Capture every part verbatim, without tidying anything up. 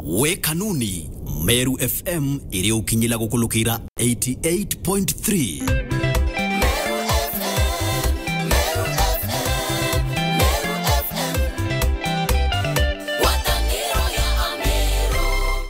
We kanuni, Meru F M iri ukinyila gukulukira eighty eight point three. Meru F M, Meru F M, Meru F M. Ngwataniro ya Ameru.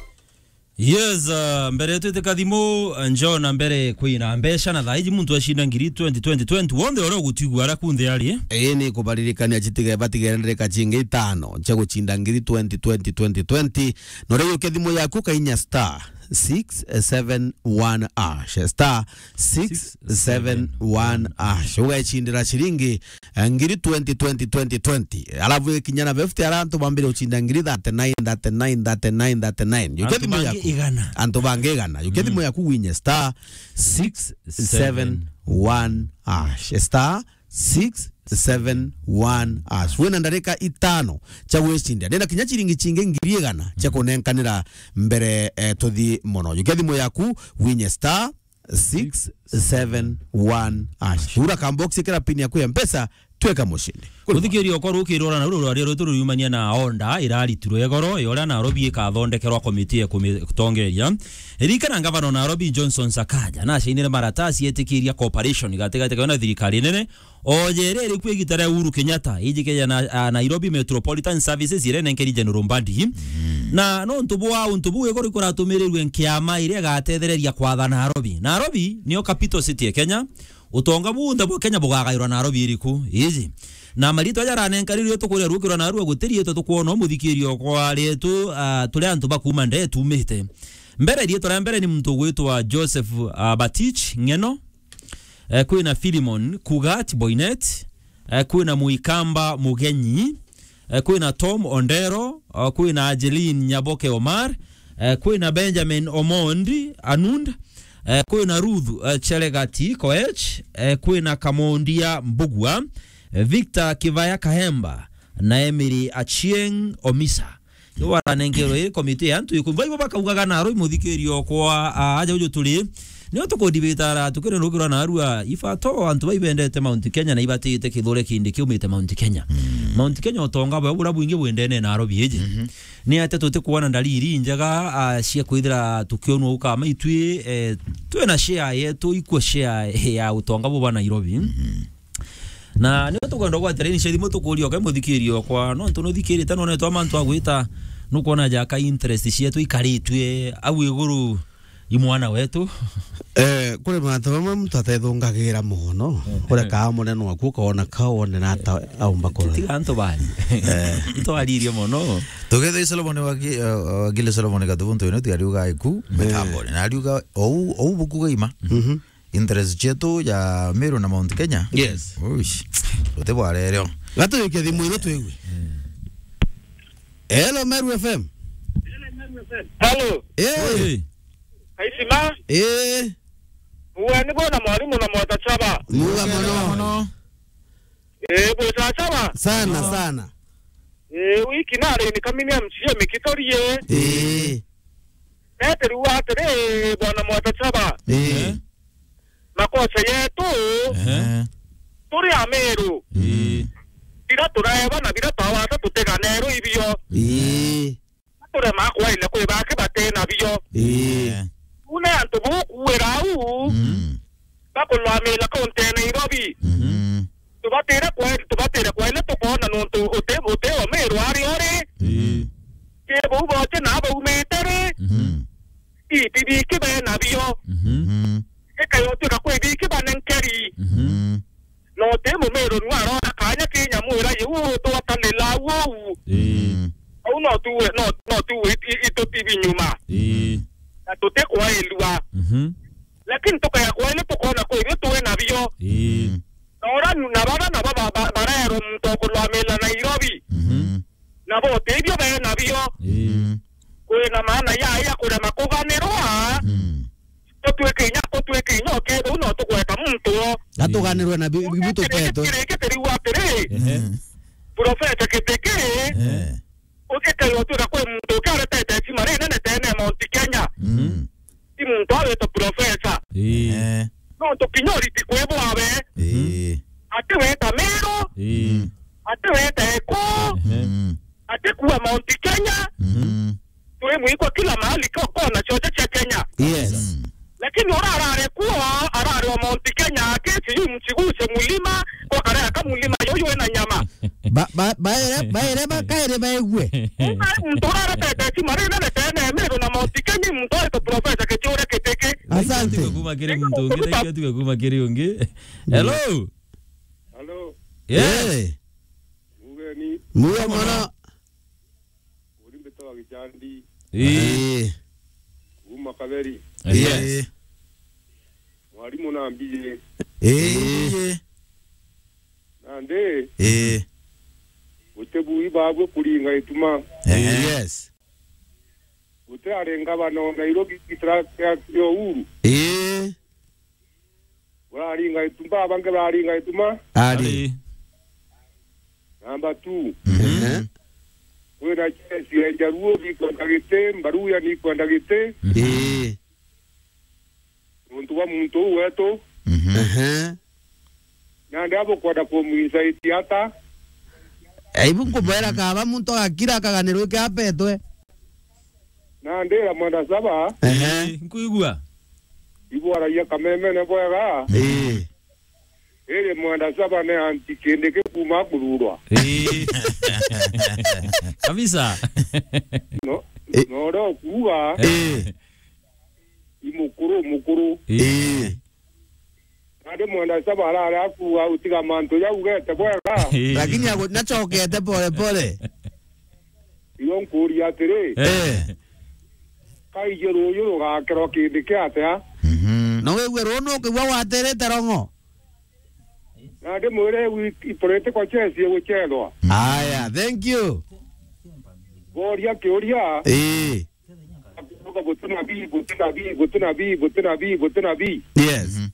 Yes, uh, mbere twite kathimu, uh, njona mbere kwina mbeca na thaiji muntu acinda ngiri twenty, twenty, twenty. Wonthe uria ugutwigua ara kunthe ari. Ii ni kubaririkania citige, batigere ndereka cingi itano cia gucinda ngiri twenty, twenty, twenty, twenty. Na uria yuke thimu yaku kainya star six seven one hash, star six seven one hash. Ugecindira ciringi, eh, ngiri twenty, twenty, twenty, twenty. Alafu ikinya na fifty, ara antu bambire ucinda ngiri thirty-nine, thirty-nine, thirty-nine, thirty-nine. Yuke thimu yaku. Antu bangi igana. Antu bangi igana. Yuke thimu yaku winye star six seven one hash. Star six seven one hash. Wina ndarika itano cia gwicindia. Ndina kinya ciringi cingi ngiri igana cia kunenkanira mbere, eh, tuthi mono. Yukia thimu yaku, winye star six seven one hash. Hura kambox, ikira pin yaku ya Mpesa, tweka mucindi. Kuri muthikiria okwa rukirora na ruru rwaria rwetu ruriumania na onda iraritirwe igoro, yoria Nairobi ikathondekerwa komiti ya kumitongeria. Ririkana ngavana wa Nairobi Johnson Sakaja nacainire maratasi yetikiria cooperation gatigati kawe na thirikari nene, o ja iria iri kuo igita ria Uhuru Kenyatta, iji keja na, a, Nairobi Metropolitan Services, iria nenkeri General Mbadi. Mm. Na nontu bwa untu buu igoro ikuratumirirwe nkiama iria igatethereria kwatha Nairobi. Nairobi niyo capital city ya Kenya. Utonga bunthe bwa Kenya bugagairwa Nairobi iriku? Iji. Na maritwa jaranenkarirwe tukuria rukirwa narua gutirietwe tukwona umuthikirio kwa rietu, a, turi antu ba kuuma ndee tumite. Mbere, rietwa ria mbere ni muntu ugwitwa Joseph, a, Batich Ng'eno. Eh, kwina Philemon Kugat Boynet, eh, kwina Muikamba Mugenyi, eh, kwina Tom Ondero, eh, kwina Angeline Nyaboke Omar, eh, kwina Benjamin Omondi Anund, eh, kwina Ruth, eh, Chelegati Koech, eh, kwina Kamondia Mbugua, eh, Victor Kivaya Kahemba, na Emily Achieng Omisa. Ni waranenkerwe iri komiti ya antu ikumva ibo bakaugaga naro imuthikirio kwa, a, aja uju turi. Nio tukudibitara tukire rukirwa narua ifato antu baibendete Mount Kenya na ibatite kithure kindi kiumite Mount Kenya. Mm. Mount Kenya utonga bwa bura bwingi bwendene na Nairobi iji. Mhm. Ni ate tutikuona ndariri njega, a, cia kwithira tukionwa ukama itwi, e, twina share yetu, ikwo share ya utonga bwa Nairobi. Mhm. Na nio tukwenda gwatira ni cia thimu tukuria uke muthikirio kwa, nontu nuthikirite nonetwa mantu agwita, nukwona jaka interest cietu ikaritue au iguru i mwana wetu. Eh, kuri mantu mamwe muntu atethungagira mono. Eh. Uria kaa munene waku ukona ka wone na ata aumba kora. Tiga antu bani. Eh. Ntwaririe mono. Tugetha i Solomon wa Gi-, eh, wa Gile Solomon Gatubuntu ino tiariuga iku, eh, mitamboni. Na ariuga ou, ou bukuga ima. Mhm. Interest cietu ja Meru na Mount Kenya. Yes. Uish. Uti bwarereo. Gatuyukia thimu ino twigue. Hello, Meru F M. Hello. Eh. Oi. Kaisima. Eh. Uwe ni bona mwalimu na mwata chaba. Muga mono. Eh, bwita chaba. Sana, sana. Eh, wiki nari ni kamini M C A mikitorie. Eh. Ete riu atiri, bwana mwata chaba. Eh. Makosa yetu, ehe, turi Ameru. Ii. Bira turaeba na bira twawata tuteganerwe ibio. Ii. Turema kwaile kwi baki batena bio. Ii. Ehe. Une antu bukuwira au, mm, bakulwamila kaunti ya Nairobi. Mhm. Tubatire kwaile, tubatire kwaile tukona nuntu uti, uti Ameru ari ori. Ii. Ki bau bote na baumite ri. Mhm. Ii, ti biki bena bio. Mhm. Mhm. Ikayotuika kwi biki banenkeri. Mhm. No ti Mumeru nu arona kanya ki nyamu ira yu twatanila uu. Ii. Mhm. Au no tuwe, no, no tuwe it-, it-, itutibi nyuma. Ii. Na tutikwailua. Mhm. Lakini tukaya kwaile tukona kwi bio twi nabio. Ii. Mhm. Na ura nu-, na baba, na baba, ba-, barero muntu okulwamila Nairobi. Mhm. Nabo ti bio bena bio. Ii. Kwina maana ya, ya kurema kuganirwa. Mm. Tutwike inya, tutwike inya, ukethirwa no tugweta muntu o. Gatuganirwe na bi-, bi-, bi-, tupetwe. Kiri, kiri, kiri, kiri, atiri. Ehe. Profesa Kitiki. Ehe. Ugikairwa twira kwi muntu ukiaretete heshima rinene tene Mount Kenya. Mm. Ti muntu awitwa profesa. Ii. Eh. Nontu kinya uriti kwi bwawe. Ii. Ati wita Meru. Ii. Ati wita Eku. Ehe. Mm. Ati kuwa Mount Kenya. Mm. Tu wi mwikwa kila mahali, ko-, kona cionthe cia Kenya. Yes. Mm. Lakini ura arare kuo, arare o Mount Kenya, aketi yu mchiguse mulima, kwa kareka mulima yuyu wina nyama. Ba-, ba-, baere, baere bakaere baegue. Muntu urare tete si marina na tene, Meru na Mount Kenya, muntu ari to professor Kithure Kindiki. Asante. Tuge kuma kiri muntu ungi, thank you, tuge kuma kiri ungi. Hello? Hello? Yes. Eh. Mugeni. Muyo mono. Uri mbitawa Gichandi. Ii. Ii. Kuma Kaberi. Yes. Ii. Mwarimu na mbiji. Ii. Ii. Nandi. Ii. Guti bui babwe kuringa ituma. Ehe. Yes. Guti ari ngavana o Nairobi gitira kia, kia Uhuru. Ii. Uraringa ituma, bangi bararinga ituma. Ari. Ari. Number two. Mhm. Ehe. Kwina chesi ya Jaluo, nikwenda giti, Mbaruya nikwenda giti. Mhm. Ii. Nontu bwa muntu uu wetu. Mhm. Ehe. Nandi abukwenda kumuinsaiti ata? Aibu nkumwera kaba muntu agakira akaganirwa iki apetwe. Nandi ira mwenda saba. Ehe. Ii, nkwigua. Ibwaragia kamemene bwega. Ii. Iri mwenda saba ni anti Kindiki kuma kururwa. Ii. Kabisa. No, ii, no ro kuuga. Ii. I mukuru, mukuru. Ii. Ii. Nandi mwenda saba arare akuuga utiga mantu jau ugete bwega. Ii. Lakini ago-, nachokete pole pole. Iyo nkuuria atiri, eh, kaiji ruuju rugakerwa kindi kia atia? Mhm. Na wigue ruu nukigua watirite rong'o? Na ndimwire wi-, i political chess iguchethwa. Aya, thank you. Boria kiuria. Ii. Gutina bi, gutina bi, gutina bi, gutina bi, gutina bi. Yes. Mhm.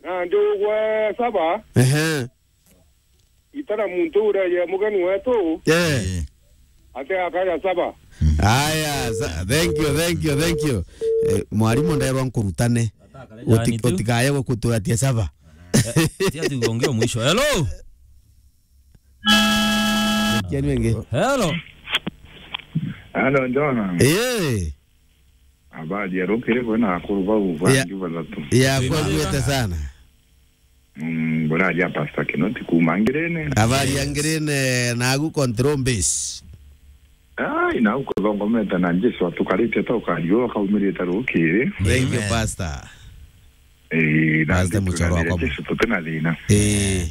Na ndi ugwe saba. Ehe. Itara muntu uria ye mugeni wetu. Eh. Ate akaja saba. Aya, sa-, thank you, thank you, thank you. Eh, mwarimu nderwa nkurutane. Uti-, utikaye gukuturatia saba. Eh, tia tu ongea mwisho. Hello? Kiani wenge. Hello? Hello, John. Eh. Habari ya rukiri bwena akuru bau. Ya, bangi bathatu. Ya, kwa gwete sana. Mm, buraria Pastor Kinoti kuma Ngirene. Habari ya Ngirene, nagu control base. Ai, nagu kuthongomete na Jesu atukarite ta ukariu akaumirite rukiri. Thank you, amen, Pastor. Eh, na Pastor Muchoro wakwa. Jesu tutina thina. Eh.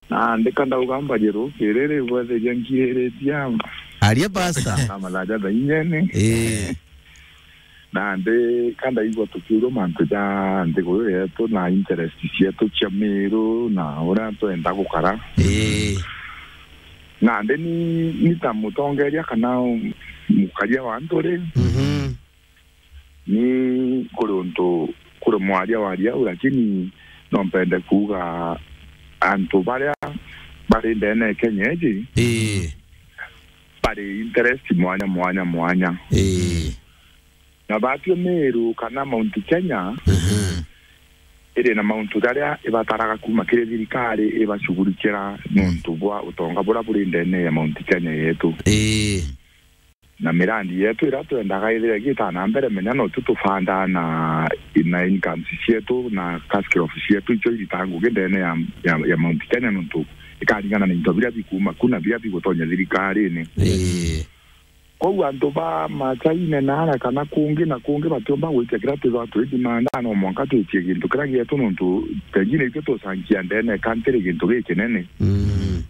Na ndika ndauga mbarie rukiri ri bwetheria nkiriritie ama. Aria Pastor. Na malaja tha inyene. Eh. Nandi ka ndaigua tukiurua mantu ja nthiguru yetu na interest cietu cia Miru na uria twenda gukara. Ii. Nandi ni, ni ta mutongeria kana mukaria wa antu ri, mhm, ni kuri untu, kuri mwaria waria au, lakini no mpende kuuga antu baria bari ndene ya Kenya iji, ii, bari interest mwanya, mwanya, mwanya. Ii. Na batio Meru kana Mount Kenya, mhm, iri na mauntu jaria ibataraga kuma kiri thirikari ibacugurikira nontu bwa utonga buria buri ndene ya Mount Kenya yetu. Ii. Na mirandi yetu iria twendaga ithire igita na mbere, menya no tu tufandaa na, na incomes cietu na cash crop cietu icio iritaga ngugi ndene ya, ya, ya Mount Kenya nontu ikaringana na into biria bikuma ku na biria bigutonya thirikarine. Ii. Kwou antu ba Machaine naara kana kungi na kungi batiumba gwitia kiria twithagwa twidimanda, no mwanka twitie gintu kiria gietu, nontu pengine itwe tucangia ndene country gintu gikinene. Mm.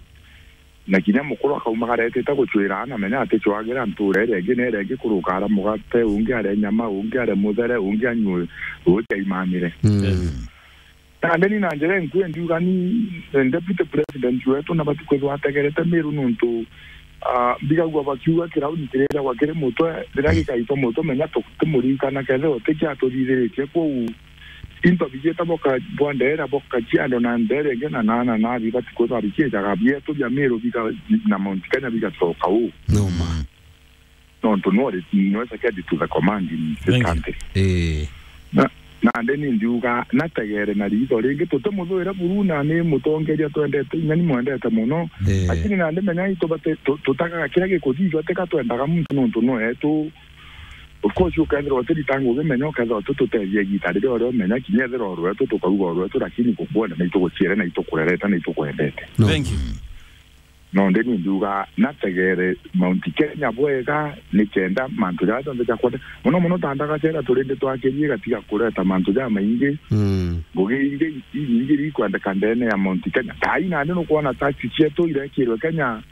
Na kinya mukuru akaumagara etite gucwira ana, menya aticwagira ntura iria ingi na iria ingi, kuruka aria mugate, ungi aria nyama, ungi aria muthere, ungi anyue ruuji aimanire. Mm. Yes. Na ndeni na njira inkui ndiuga ni, eh, deputy president wetu nabati kwithwa ategerete Miru nontu, ah, mbigagua bakiuga kirauni kiriragwa kiri mutwe, riria gikaitwa mutwe, menya tu-, tumuririkana kethira utikia atuthithiritie. Kwou into bigiita boka-, bwa ndeera, boka ciando na ndeera ingi na nana nabi bati kwithwa bikiijaga bietu bia Miru bika-, na Mount Kenya bigacoka uu. Numa. Nontu no re-, no second to the command in this country. Eh. Na, Nandi ni ndiuga nategere na riitho ringi, tutimuthuire buru na ni mutongeria twendete, inya ni mwendete muno. Eh. Lakini nandi menya itubate tu-, tutagaga kiria gikuthithua, tika twendaga muntu nontu no etu. Of course, ukethirwa utiritangu ugimenya, ukethirwa utitutethia igita riria uria umenya, kinya ethirwa urwetu, tukauga urwetu, lakini gukwenda na ituguciere na itukurerete na itukwendete. No. Thank you. No, ndi ni ndiuga nategere Mount Kenya bwega, ni kenda mantu jaria jonthe ja kwenda. Muno muno ta ndagacera turindi twakirie gatiga kureta mantu ja maingi. Mm. Ngugi ingi inyingi iria ikwendeka ndene ya Mount Kenya. Thaai nandi nukwona taxi cietu irekirwe Kenya,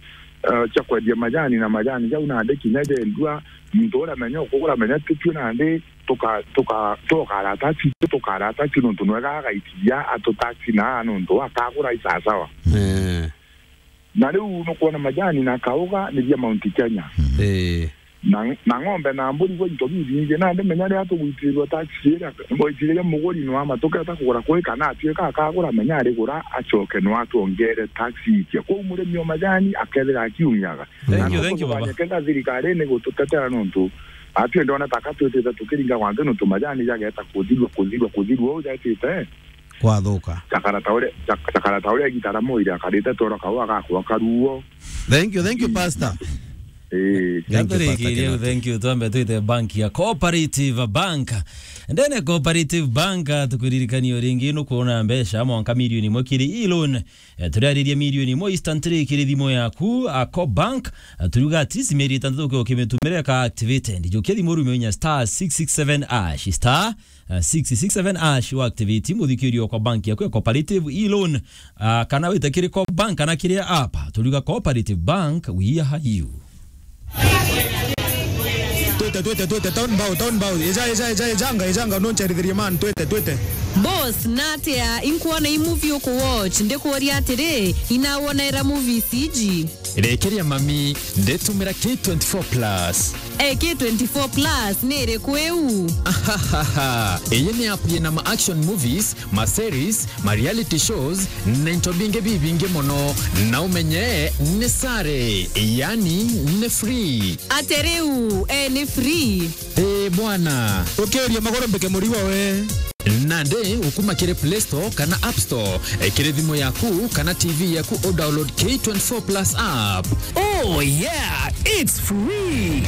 eh, cia kwendia majani na majani jau nandi kinya jendua, muntu uria menya ukugura menya tutue nandi tuka-, tuka-, tukara taxi, tukara taxi nontu nwega agaitiria atu taxi na nontu akagura i sawasawa. Eh. Na riu nukwona majani na kauga ni bia Mount Kenya. Eh. Na, na ng'ombe na mburi gwe into bibingi, nandi menya riria tugwitirirwa taxi iria, ngwitiria muguri nwama tuketa kugura kwi kana atuika akagura menya arigura acoke nwatwongere taxi itia. Kwou murimi o majani akethira akiumiaga. Thank you, thank you, baba. Kenda thirikari ni gututetera nontu atwi ndona taka twitite tukiringa gwanthi nontu majani jageta kuthirua, kuthirua, kuthirua, uu jetite. Kwathuka. Cakara ta uria, cak-, cakara ta uria gitara moire akarite toro kau agakwa karuo. Thank you, thank you, Pastor. Eh. Thank you, Pastor Gathurikirie, Kenneth. Thank you. Twambe twite bank ya Cooperative Bank. Ndene Cooperative Bank, tukwiririkania ringi nukwona mbeca mwanka milioni imwe kiri e-loan. Eh, turiariria milioni imwe instantly kiri thimu yaku, a Coop Bank. Eh, turiuga at least mieri itantatu uke ukimitumira ka activated. Jukia thimu rume inya star six six seven hash, star, eh, six six seven hash, wa activate muthikirio kwa bank yaku ya Cooperative e-loan. Ah, kana wite kiri Coop Bank kana kiri app. Turiuga Cooperative Bank, we are you. Twite, twite, twite, town bow, town bow. Eja, eja, eja, ejanga, ejanga, noncherithirie man, twite, twite. Boss, natia, inkuona i movie uku watch, ndikuuria atiri, inawona era movies iji? Rekeria mami, nditumira K twenty-four plus. Eh, K twenty-four plus, ni iriku iu? Ahahaha. Iyi ni app yina ma action movies, ma series, ma reality shows, na into bingi bibingi mono. Na umenye ni sare, yani ni free. Ate riu, eh, ni free? Eh, bwana. Ukiuria maguru mbike murigo we. Nandi ukuma kiri Play Store kana App Store, eh, kiri thimu yaku kana T V yaku, u download K twenty-four plus app. Oh yeah, it's free.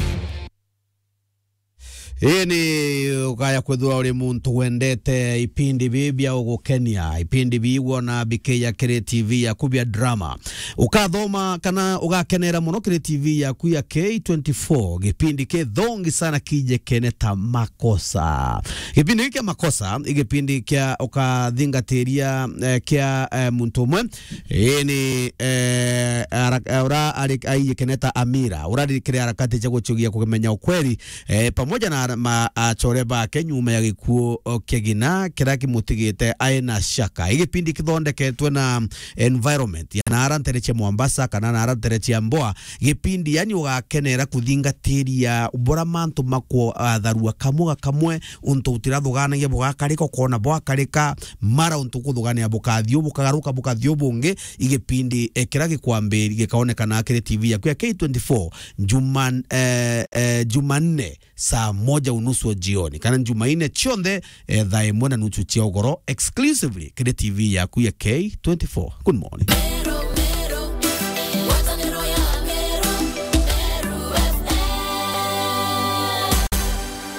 Ii ni ukaya kwithirwa uri muntu wendete ipindi bii bia ugukenia, ipindi biigua na bikiija kiri T V yaku bia drama. Ukathoma kana ugakenera mono kiri T V yaku ya K twenty-four, gipindi kithongi sana kijikene ta Makosa. Gipindi giki kia Makosa, i gipindi kia ukathingatiria, eh, kia, eh, muntu umwe. Ii ni, eh, ara-, eh, ura ari-, aijikene ta Amira, ura ari kiri harakati cia gucugia kumenya ukweli, eh, pamoja na ara-, ma-, achore bake nyuma ya gikuo, o, kia gina kiria kimutigite aina shaka. I gipindi kithondeketwe na environment ya naara ntere cia Mombasa kana naara ntere cia Mboa. Gipindi, yani, ugakenera kuthingatiria bura mantu makwo atharua kamwe ga kamwe, untu utirathuganagia bugakarika, ukona bwakarika, mara untu ukuthugania bukathiu, bukagaruka, bukathiu bungi. I gipindi, eh, kiria gikwambiri gikaonekana kiri T V yaku ya K twenty-four, Juman-, eh, eh, Jumanne saa moja unusu jioni, kana Jumaine cionthe, eh, thaa imwe na nusu cia ugoro, exclusively kiri T V yaku ya K twenty-four. Good morning.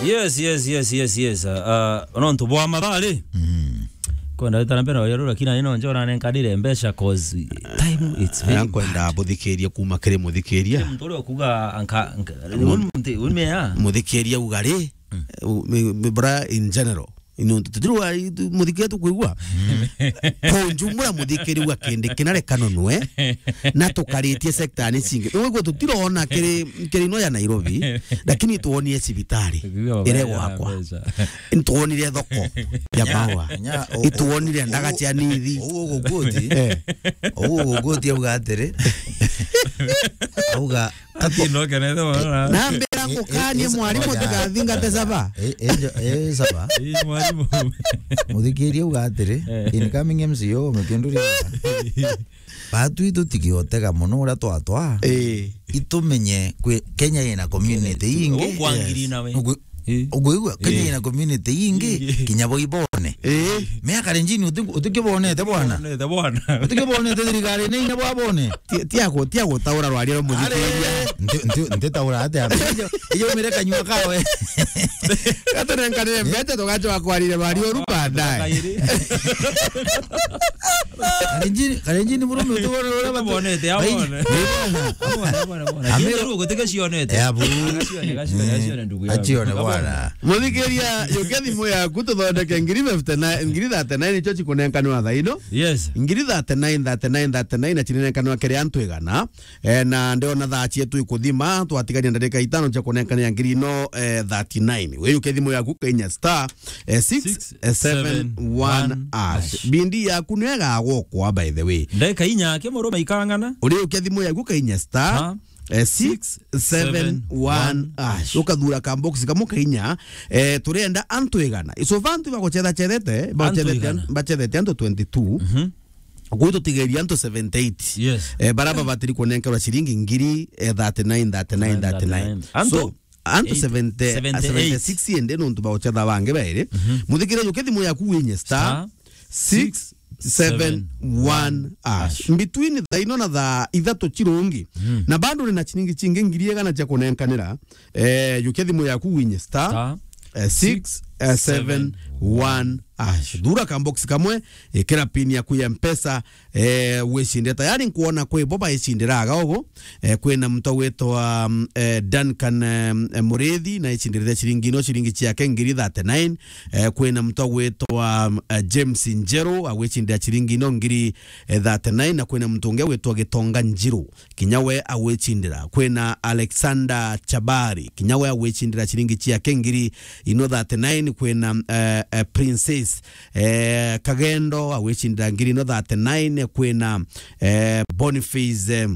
Yes, yes, yes, yes, yes. Uh, uh, nontu bwa mathaa ri? Mm. Kwenda wita na mbere na uria rura kina ino njora nenkanire mbeca 'cause time it's very bad. Kwenda buthikiria kuma kiri muthikiria. Muntu uria ukuga anka, anka, Mu-, un-, un-, un-, mea. Muthikiria uga ri, mm, u-, mi-, mi-, bra in general. Ino tutirwa, i-, tu-, muthikiria tukwigua. Mm. Kwa ujumla muthikiria uga kindi kina reka nonwe. Na tukaritie sector ni cingi. Nigwigua tutirona kiri, kiri ino ya Nairobi, lakini tuonie cibitari. Tukiuga ire baba gwakwa. Mbeca. Nitwonire thoko ya maua. Nya, nya, o-, itwonire o-, ndaga o-, cia nithi. Ou ugukuti. Eh. Ou ugukuti auga atiri. Auga, ati no kenete mwana. Na mbira ngukanie, eh, eh, mwarimu, oya, tigathingate saba. Eh, eh, jo-, eh, saba. Eh, mwarimu. Muthikirie auga atiri, eh, incoming M C O, mukinduri. Batwi tutigotega mono uria twatwa. Eh. Itumenye kwi Kenya ina community ingi. Ukwangiri nawe. Nugu-, Eh. Uguigua, Kenya Eh. ina community ingi, Ingi. kinya bo ibone. Eh. Me Akalenjin uti-, utikibonete bwana. Bonete bwana. Utikibonete thirikari ni inya bwabone. Ti-, tiago-, tiagotaura rwaria rwa muthikiria. Are. Nti-, nti-, ntitaura atia. Iyo mire kanyua kawe. Gatunenkanire mbeca tugacoka kwarire bari uru baadaye. Kairi. Kalenjin, Kalenjin murume utibone uria batu-, Bonete, Kalenjin. Abone. Ni bwana. Abone, abone, abone. Ame- Kinya ruo gutike cionete. Ya buru. Gacione, gacione, gacione ndugu yangu. Acione bwana. Muthikiria, yukia thimu yaku tuthondeke ngiri fifty-nine, ngiri thirty-nine icio cikunenkanwa thaa ino. Yes. Ngiri thirty-nine, thirty-nine, thirty-nine na cirinenkanwa kiri antu igana. Eh, na ndiona thaa cietu ikuthima, twatigania ndarika itano cia kunenkanira ngiri ino, eh, thirty-nine. We yukia thimu yaku kainya star, eh, six seven one hash. Bindi yaku nio igagokwa, by the way. Ndeka inya ake murume ikang'ana. Uriukia thimu yaku kainya star, Star eh, six seven one hash. Ukathura ka box kamwe kainya, eh, turenda antu igana. So far antu bagucetha cethete, Antu bacethete an-, igana. bacethete antu twenty-two. Mhm. Kuu tutigeria antu seventy-eight. Yes. Eh, bara babatiri kunenkerwa ciringi ngiri, eh, thirty-nine, thirty-nine, thirty-nine. Antu So, antu eight, seventy, seventy-eight. seventy-six ende nontu baucetha bangi bairi. Mhm. Muthikire yuke thimu yaku winye star Star six seven one hash. Between thaa ino na thaa ithatu cirungi. Mhm. Na bado nina ciringi cingi ngiri igana cia kunenkanira. Eh, yukia thimu yaku winye star, Star eh, six seven one hash. Thura ka box kamwe, ikira pin yaku ya Mpesa, eh, wicinde. Tayari nkuona kwi bo baicindiraga ugu. Eh, kwina muntu witwa, mm, eh, Duncan, eh, eh, Murithi, na icindiriria ciringi ino, ciringi ciake ngiri thirty-nine. Eh, kwina muntu witwa, mm, eh, James Njeru, agwicindira ciringi ino ngiri, eh, thirty-nine, na kwina muntu ungi witwa Gitonga Njiru. Kinya we agwicindira. Kwina Alexander Chabari, kinya we agwicindira ciringi ciake ngiri ino thirty-nine. Kwina, eh, eh, Princess, eh, Kagendo agwicindira ngiri ino thirty-nine. Kwina, eh, Boniface, eh,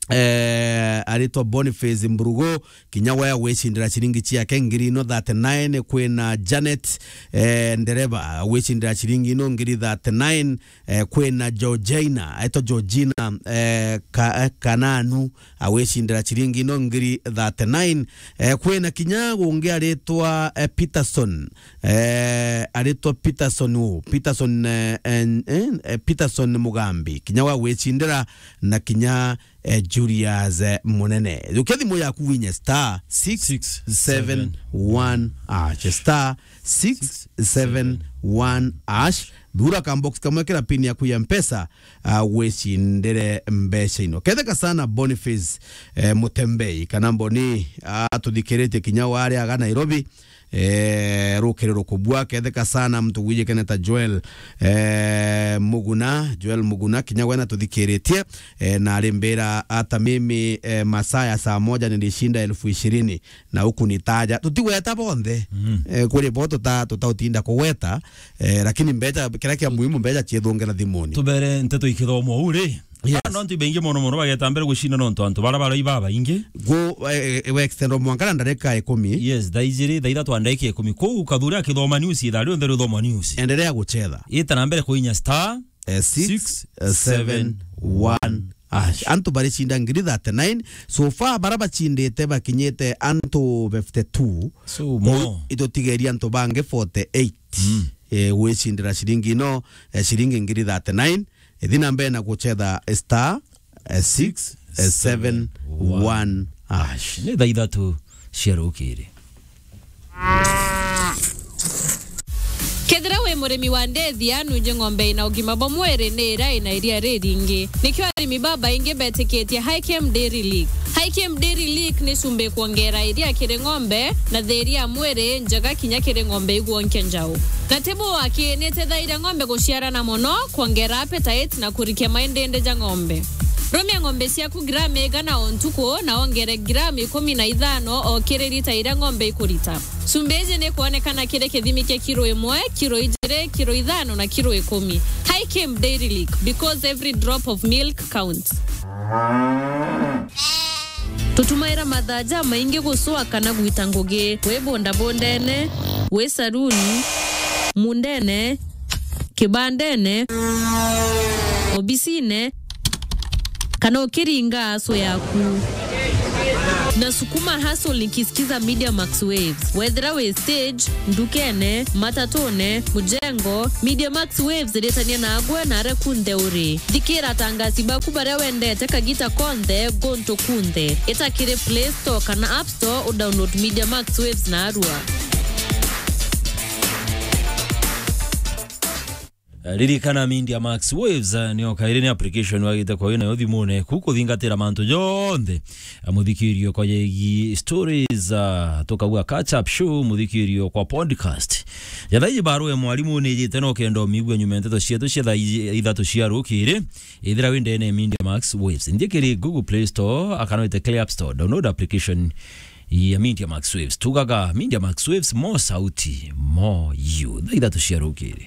eh, aritwa Boniface Mburugu, kinya we agwicindira ciringi ciake ngiri ino thirty-nine. Kwina Janet, eh, Ndereba agwicindira ciringi ino ngiri thirty-nine. Eh, kwina Georgina, aitwa Georgina, eh, ka-, eh, Kananu, agwicindira ciringi ino ngiri thirty-nine. Eh, kwina kinya ungi aritwa, eh, Peterson, eh, aritwa Peterson u, Peterson, eh, en-, en-, eh, Peterson Mugambi, kinya we agwicindira, na kinya, eh, Julius, eh, Munene. Yukia thimu yaku winye star six seven one hash, star six seven one hash. Thura ka box kamwe, kira pin yaku ya Mpesa, ah, wicindire mbeca ino. Ketheka sana Boniface, eh, Mutembei, kana Mboni, ah, atuthikiritie kinya wari aga Nairobi, eh, rukiri rukubua. Ketheka sana muntu gwijikene ta Joel, eh, Muguna, Joel Muguna, kinya we natuthikiritie, eh, na arimbira ata mimi, eh, masaa ya saa moja nilishinda elfu ishirini. Na ukunitaja. Tutigweta bonthe. Mm. Eh, kuri bo tuta-, tutautinda kugweta, eh, lakini mbeca, kiria kia muhimu, mbeca ciithungera thimuni. Tubere nteto ikithomwa uu ri? Yes. Ah, no antu ibaingi mono mono bageta mbere gucinda nontu antu bara barai babaingi. Gu-, eh, eh, we extend mwanka na ndarika ikumi. Yes, thaa ijiri, thaa ithatu na ndagika ikumi. Kou Kathuri akithoma news, ithaa rionthe rithoma news. Endelea gucetha. Ita na mbere kuinya star Eh, six seven one hash. Antu baricinda ngiri thirty-nine. So far, bara bacindite bakinyite antu fifty-two. So, Kou mo. Itutigeria antu bangi forty-eight. Mm. Eh, gwicindira ciringi ino, eh, ciringi ngiri thirty-nine. Ithi na mbere na gucetha star, eh, six seven one hash. Ni thaa ithatu cia rukiri. Kethira wi murimi wa ndethia, nunje ng'ombe ina ugima bwa mwiri ni iria ina iria riringi. Nikio arimi babaingi betikitie Hikem Dairy Lick. Hikem Dairy Lick ni cumbi kwongera iria kiri ng'ombe na thiria ya mwiri njega kinya kiri ng'ombe igwonkia njau. Na ti buu aki, ni itethairia ng'ombe guciarana mono, kwongera appetite na kurikia maindindi ja ng'ombe. Rumia ng'ombe ciaku gramu igana o ntuku na wongere gramu ikumi na ithano o kiri rita iria ng'ombe ikurita. Cumbi iji ni kwonekana kiri kithimi kia kiro imwe, kiro ijiri, kiro ithano na kiro ikumi. Hikem Dairy Lick, because every drop of milk counts. Tutumaira mathaa jamaingi gucua kana gwita ngugi, wi bondabondene, wi saruni, mundene, kibandene, obisine, kana ukiringa acu yaku. Nasukuma hustle nikisikiza Media Max Waves. Wethira wi stage, ndukene, matatune, mujengo, Media Max Waves iritania nagwe na aria kunthe uri. Thikira atangasi baku baria wendete kagita konthe, guntu kunthe. Ita kiri Play Store kana App Store udownload Media Max Waves narua. Ririkana Media Max Waves, eh, nio kairi ni application wagite kwa nayo thimune ku kuthingatira mantu jonthe. Eh, muthikirio kwa yegi stories, ah, tukauga catch up show, muthikirio kwa podcast. Jathaiji barua ya mwarimu ni jite no kenda umigua nyuma ya nteto cietu cia thaa i-, ithatu cia rukiri. Ithira wi ndene ya Media Max Waves. Nthie kiri Google Play Store, akana wite kiri App Store. Download application ya Media Max Waves. Tugaga Media Max Waves, mo sauti, mo you. Thaa ithatu cia rukiri.